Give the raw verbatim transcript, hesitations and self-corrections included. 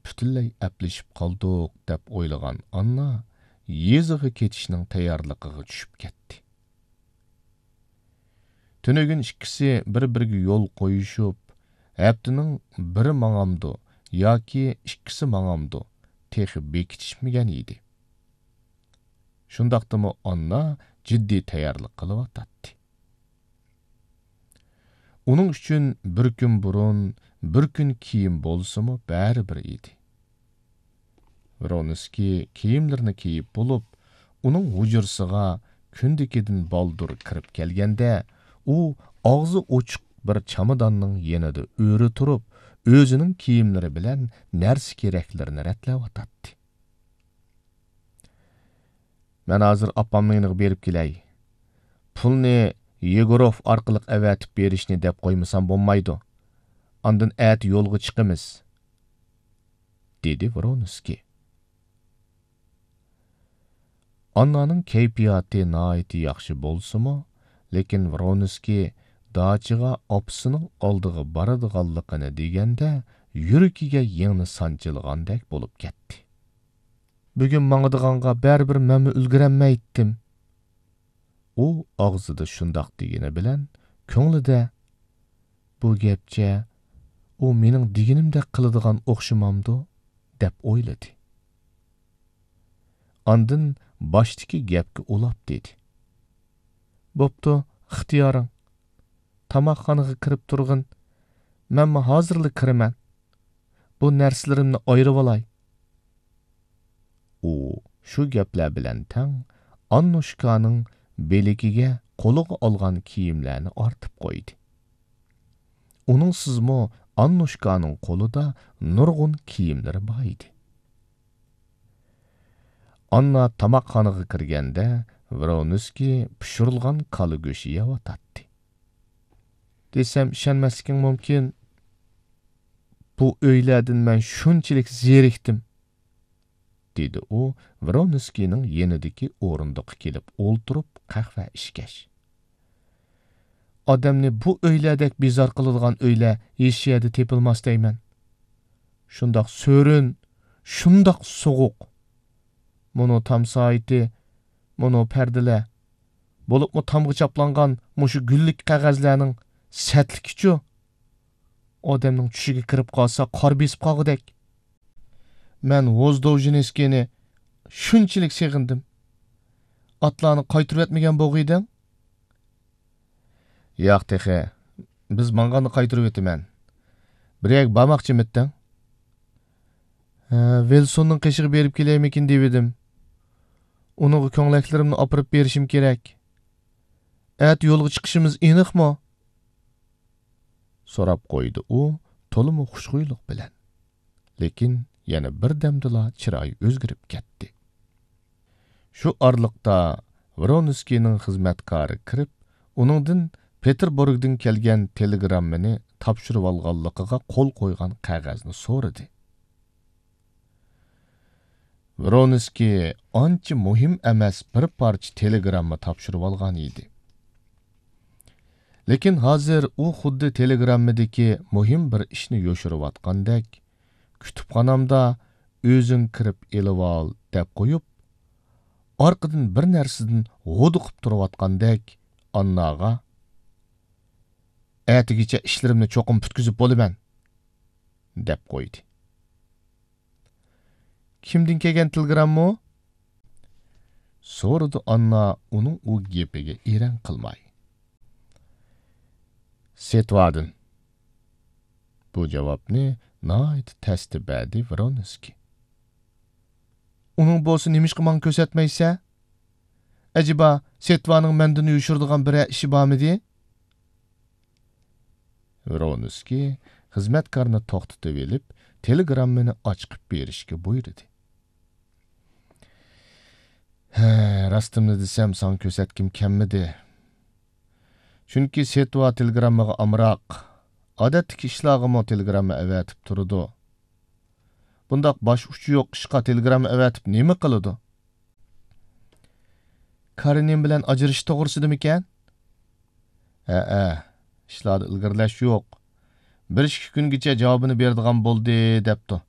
پۈتۈنلەي ئەپلىشىپ قالدۇق، دەپ ئويلىغان ئاننا يېزىغا كېتىشنىڭ تەييارلىقىغا چۈشۈپ كەتتى. تۈنۈگۈن ئىككىسى بىر-بىرىگە يول قويۇشۇپ، ھەپتىنىڭ بىرى ماڭامدۇ ياكى ئىككىسى ماڭامدۇ، تېخى بېكىتىشمىگەن ئىدى. شۇنداقتىمۇ ئاننا جىددىي تەييارلىق قىلىۋاتاتتى. ئۇنىڭ ئۈچۈن بىر كۈن بۇرۇن، بىر كۈن كېيىن بولسىمۇ بەرىبىر ئىدى. ۋرونسكىي كىيىملىرىنى كىيىپ بولۇپ، ئۇنىڭ ھۇجرىسىغا كۈندىكىدىن بالدۇر كىرىپ كەلگەندە، ئۇ ئاغزى ئوچۇق بىر چاماداننىڭ يېنىدا ئۆرە تۇرۇپ، ئۆزىنىڭ كىيىملىرى بىلەن نەرسە-كېرەكلىرىنى رەتلەۋاتاتتى. مەن ھازىر ئاپامنىڭ يېنىغا بېرىپ كېلەي. پۇلنى يېگوروف ئارقىلىق ئەۋەتىپ بېرىشنى دەپ قويمىسام بولمايدۇ. ئاندىن ئەتە يولغا چىقىمىز، دېدى ۋرونسكىي. ئاننانىڭ كەيپىياتى ناھايىتى ياخشى بولسىمۇ، لېكىن ۋرونسكىي داچىغا ئاپىسىنىڭ ئالدىغا بارىدىغانلىقىنى دېگەندە، يۈرىكىگە يىڭنە سانچىلغاندەك بولۇپ كەتتى. بۈگۈن ماڭىدىغانغا بەرىبىر مەنمۇ ئۈلگۈرەلمەيتتىم. ئۇ ئاغزىدا شۇنداق دېگىنى بىلەن، كۆڭلىدە، بۇ گەپچە ئۇ مېنىڭ دېگىنىمدەك قىلىدىغان ئوخشىمامدۇ؟ دەپ ئويلىدى. ئاندىن باشتىكى گەپكە ئۇلاپ دېدى. بوپتۇ، ئىختىيارىڭ. تاماقخانىغا كىرىپ تۇرغىن. مەنمۇ ھازىرلا كىرىمەن. بۇ نەرسىلىرىمنى ئايرىۋالاي. ئۇ شۇ گەپلەر بىلەن تەڭ ئاننۇشكانىڭ بىلىكىگە قولىغا ئالغان كىيىملەرنى ئارتىپ قويدى. ئۇنىڭسىزمۇ ئاننۇشكانىڭ قولىدا نۇرغۇن كىيىملىرى بار ئىدى. ئاننا تاماقخانىغا كىرگەندە، ۋرونسكىي پىشۇرۇلغان كالا گۆشى يەۋاتاتتى. دېسەم ئىشەنمەسلىكىڭ مۇمكىن. بۇ ئۆيلەردىن مەن شۇنچىلىك زېرىكتىم، دېدى ئۇ ۋرونسكىينىڭ يېنىدىكى ئورۇندۇققا كېلىپ ئولتۇرۇپ قەھۋە ئىچكەچ. ئادەمنى بۇ ئۆيلەردەك بىزار قىلىدىغان ئۆيلەر ھېچ يەردە تېپىلماس دەيمەن. شۇنداق سۆرۈن، شۇنداق سوغۇق. مۇنۇ تام سائىتى، مۇنۇ پەردىلەر، بولۇپمۇ تامغا چاپلانغان مۇشۇ گۈللۈك قەغەزلەرنىڭ سەتلىكىچۇ؟ ئادەمنىڭ چۈشىگە كىرىپ قالسا، قار بېسىپ قالغۇدەك. مەن ۋوزدوۋژېنسكىينى شۇنچىلىك سېغىندىم. ئاتلارنى قايتۇرۇۋەتمىگەن بولغىيدىڭ؟ ياق تېخى. بىز ماڭغاندا قايتۇرۇۋېتىمەن. بىر يەرگە بارماقچىمىتتىڭ؟ ھە، ۋىلسوننىڭ قېشىغا بېرىپ كېلەيمىكىن دېۋىدىم. ئۇنىڭغا كۆڭلەكلىرىمنى ئاپىرىپ بېرىشىم كېرەك. ئەتە يولغا چىقىشىمىز ئېنىقمۇ؟ سوراپ قويدى ئۇ تولىمۇ خۇشخۇيلۇق بىلەن. لېكىن يەنە بىردەمدىلا چىرايى ئۆزگىرىپ كەتتى. شۇ ئارىلىقتا ۋرونسكىينىڭ خىزمەتكارى كىرىپ، ئۇنىڭدىن پېتېربۇرگدىن كەلگەن تېلېگراممىنى تاپشۇرۇۋالغانلىقىغا قول قويغان قەغەزنى سورىدى. ۋرونسكىي ئانچە مۇھىم ئەمەس بىر پارچە تېلېگرامما تاپشۇرۇۋالغان ئىدى. لېكىن ھازىر ئۇ خۇددى تېلېگراممىدىكى مۇھىم بىر ئىشنى يوشۇرۇۋاتقاندەك، كۇتۇپخانامدا ئۆزۈڭ كىرىپ ئېلىۋال دەپ قويۇپ، ئارقىدىن بىر نەرسىدىن ھودۇقۇپ تۇرۇۋاتقاندەك ئانناغا، ئەتىگىچە ئىشلىرىمنى چوقۇم پۈتكۈزۈپ بولىمەن، دەپ قويدى. كىمدىن كەلگەن تېلېگراممۇ؟ سورىدى ئاننا ئۇنىڭ ئۇ گېپىگە ئېرەن قىلماي. سېتۋادىن. بۇ جاۋابنى ناھايىتى تەستە بەردى ۋرونسكىي. ئۇنىڭ بولسا نېمىشقا ماڭا كۆرسەتمەيسەن؟ ئەجەبا، سېتۋانىڭ مەندىن يوشۇرىدىغان بىرەر ئىشى بارمىدى؟ ۋرونسكىي خىزمەتكارنى توختىتىۋېلىپ، تېلېگراممىنى ئاچىقىپ بېرىشكە بۇيرۇدى. ھە، راستىمنى دېسەم، ساڭا كۆرسەتكۈم كەلمىدى. چۈنكى سېتۋا تېلېگراممىغا ئامراق. ئادەتتىكى ئىشلارغىمۇ تېلېگرامما ئەۋەتىپ تۇرىدۇ. بۇنداق باش ئۇچى يوق ئىشقا تېلېگرامما ئەۋەتىپ نېمە قىلىدۇ؟ كارېنىن بىلەن ئاجرىشىش توغرىسىدىمىكەن؟ ھەئە، ئىشلاردا ئىلگىرىلەش يوق. بىر ئىككى كۈنگىچە جاۋابىنى بېرىدىغان بولدى، دەپتۇ.